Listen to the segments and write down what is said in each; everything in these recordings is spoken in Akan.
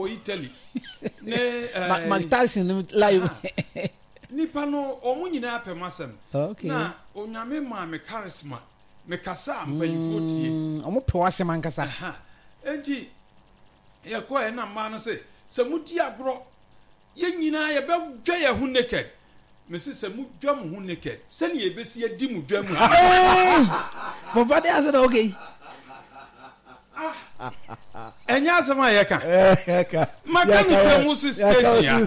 Wɔ Italy ne eh, Mike Tyson no live. Nipa no wɔn nyinaa pɛ m'asɛm. Okay. Na Onyame maa me charisma. Me kasa a mpanyinfoɔ tie. Wɔn pɛ w'asɛm ankasa. Enti yɛkɔɛ na mmaa no se sɛ mo di agorɔ yɛn nyinaa yɛbɛdwa yɛn ho naked. Mese sɛ mo dwa mo ho naked sɛnea yɛbɛsi adi mo dwa mu ha. Papa de ase na okay. Ah, ɛnyɛ asɛm a yɛka. Maka no tɛmu si station ya.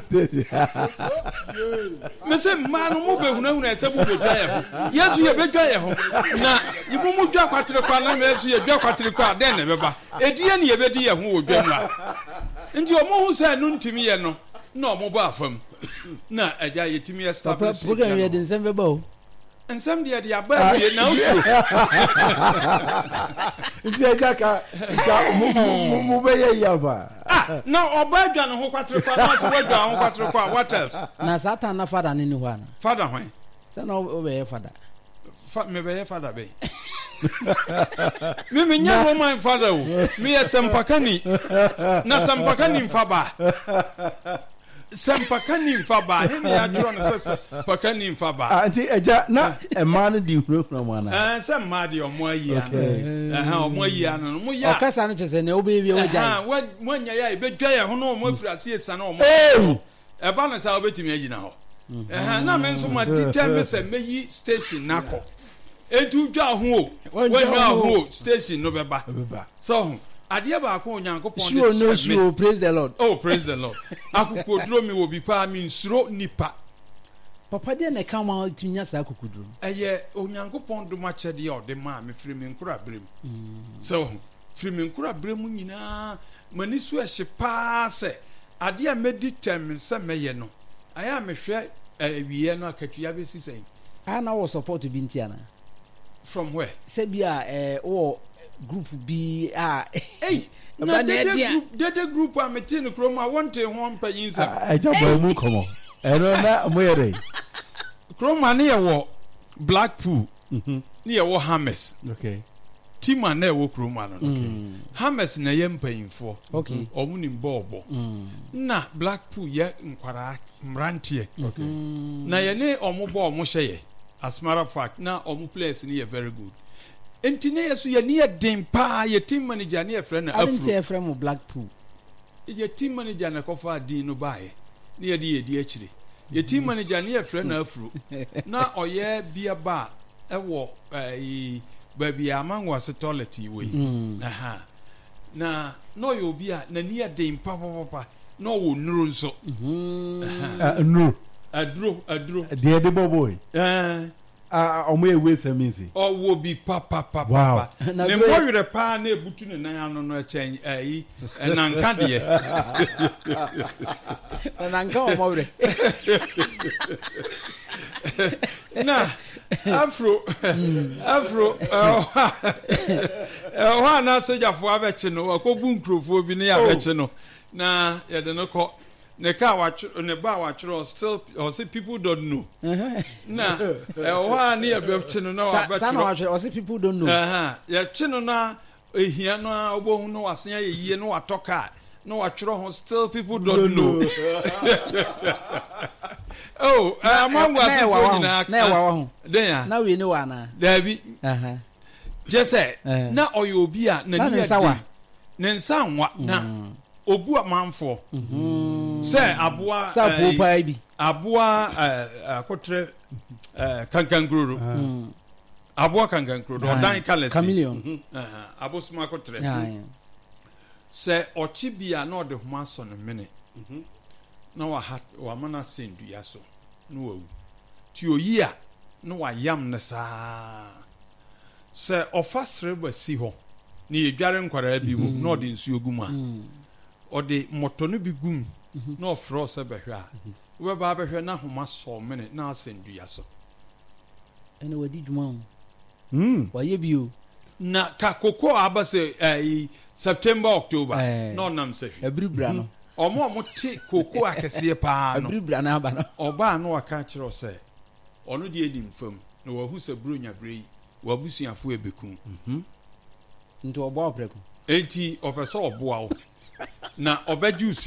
Mese mmaa no mo bɛhunahuna sɛ mo bɛdwa yɛ ho. Yɛn nso yɛbɛdwa yɛ ho. Na mo mo dwa kwatere kwa na yɛn nso yɛdwa kwatere kwa a dɛn na ɛbɛba? Ɛdeɛ ne yɛbɛdi yɛ ho wɔ dwa mu a. Nti wɔn ho sɛ ɛno ntumi yɛ no na wɔn bɔ afam. Na agya yɛtumi establish. Papa program yɛ de nsɛm bɛba o. Nsɛm deɛ de aba awie na wosuro. Nti agya ka nka mo mo bɛyɛ yi aba. Ah na ɔba adwa ne ho kwatere kwa na ɔso wadwa ho kwatere kwa what else. Na saa tan na fada ne ni hɔ ana. Fada hwan. Sɛ na wobɛyɛ fada. Fa mebɛyɛ fada bɛn. Me menyɛ Roman fada o meyɛ sɛmpakani na sɛmpakani nfa ba. Sɛmpakani mfa baa. He ne yɛatwerɛ no sɛ sɛmpakani mfa baa? Ah, nti agya na mmaa no di hunahuna mu anaa? Ɛɛ, sɛ mmaa deɛ ɔmo ayi ano. Ɛhɛn, ɔmo ayi ano no. Mo yɛ a. Ɔkasa no kyerɛ sɛ nea wobɛyɛ biara wagyae. Ɛhɛn, moanya yɛ a yɛbɛdwa yɛn ho na ɔmo afiri ase asiane ɔmo ho. Ɛba no saa wobɛtumi agyina hɔ. Ɛhɛn, na me nso ma determine sɛ mɛyi station no akɔ. Enti wodwa ho o, woannwa ho o, station no bɛba. Sɛ ɔho, adeɛ baako a Onyankopɔn de Sure no kyɛ me. sure, praise the Lord. Oh, praise the Lord. Akokoduro me wɔ bi paa, mensuro nipa. Papa deɛ na ɛka ma wotumi nya saa akokoduro no? Ɛyɛ Onyankopɔn dom akyɛdeɛ a ɔde maa me firi me nkoraberɛ mu. Sɛ ɔho, firi me nkoraberɛ mu nyinaa, m'ani so ɛhye paa sɛ adeɛ a mɛdi tɛm me sɛ mɛyɛ no, ayɛ a mehwɛ awieɛ no akatua bɛsi sɛn. Ah na wowɔ support bi nti anaa? From where? Sɛ bi a eh, wowɔ group bi a. Ei, na dede group, dede group a mete no kurom a wɔnte ho mpanyin nsɛm. Ɛgya bɔ mu nkɔmɔ. Ɛno na mo yɛ dɛ. Kurom a ne yɛ wɔ Blackpool, mhm. ne yɛ wɔ Hammers. Okay. Team a na ɛwɔ kurom ano no. Okay. Hammers na ɛyɛ mpanyinfoɔ. Okay. Wɔn nim bɔɔl bɔ. Mm. Na Blackpool yɛ nkwaraa mmeranteɛ. Okay. Na yɛne wɔn bɔ wɔn hyɛ yɛ. As matter of fact, na wɔn players no yɛ very good. Nti ne yɛ so yɛ ni yɛ den paa yɛ team manager ne yɛfrɛ no Afro. Adi nti yɛfrɛ mo Blackpool. Yɛ team manager na ɛkɔfaa din no baeɛ ne yɛde yɛ di akyire. Yɛ team manager ne yɛfrɛ no Afro. Na ɔyɛ beer bar ɛwɔ ɛɛ baabi a Amangoase toilet yi wɔ yi. Mm. Aha. Na na ɔyɛ obi a n'ani yɛ den papapapa na ɔwɔ nnuro nso. Mm-hmm. Nnuro. Aduro aduro. Deɛ ɛde bɔ bɔɔl. Ɛɛ. Ɔmo yɛ waste and means. Ɔwɔ bi papapapa. Wow. Ne mmɔwerɛ paa na ebutu ne nan ano no ɛkyɛn ɛyi ɛnanka deɛ. Nanka wɔ mmɔwerɛ. Na afro afro ɛhɔ a na sogyafoɔ abɛkye no wakɔbu nkurɔfoɔ bi ne yɛabɛkye no na yɛde no kɔ ne kaa watwerɛ ne ba watwerɛ still ɔse people don't know na ɛhɔ a ne yɛbɛkye no na wabɛtwerɛ saa na watwerɛ ɔse people don't know yɛkye no na ehia no a wobɛhu no wasen ayɛ yie na watɔ kaa na watwerɛ ho still people don't know oh amango asefoɔ nyinaa na ɛwawa ho den a na wei ne wɔ anaa daabi kyɛ sɛ na ɔyɛ obi a n'ani yɛ den ne nsa nwa na mm. obu amanfoɔ mm-hmm. sɛ aboa sɛ abuo eh, paa bi aboa eh, akotrɛ eh, kankankuroro mm. aboa kankankuroro ɔdan kalɛsi chameleon mhm. abosom akotrɛ sɛ ɔkye bi a na ɔde homa asɔ ne mene mhm. na waha wama no asɛn dua so na wawu ti oyi a na wayam no saa Sɛ ɔfa sreba si hɔ na yɛdware nkwadaa bi wom na ɔde nsuo gu mu a, ɔde mmɔtɔ no bi gu mu na ɔfrɛ wo sɛ bɛhwɛ a, wobɛba abɛhwɛ na ahoma sɔ mene na asɛn dua so. Ɛna wadi dwuma o. Hmm. Wayɛ bi o. Na ka koko a aba sɛ ɛyi September October na ɔnam sahwi. Abiri bra no. Ɔmo a ɔmo te koko akɛseɛ paa no. Abiri bra no aba no. Ɔbaa na waka akyerɛ wo sɛ Ɔno deɛ nim fam, na wahu sɛ Buronya berɛ yi, w'abusuafoɔ rebɛku wo. Nti ɔboa wo prɛko? Enti ɔpɛ sɛ ɔboa wo. Na ɔbɛgye wo.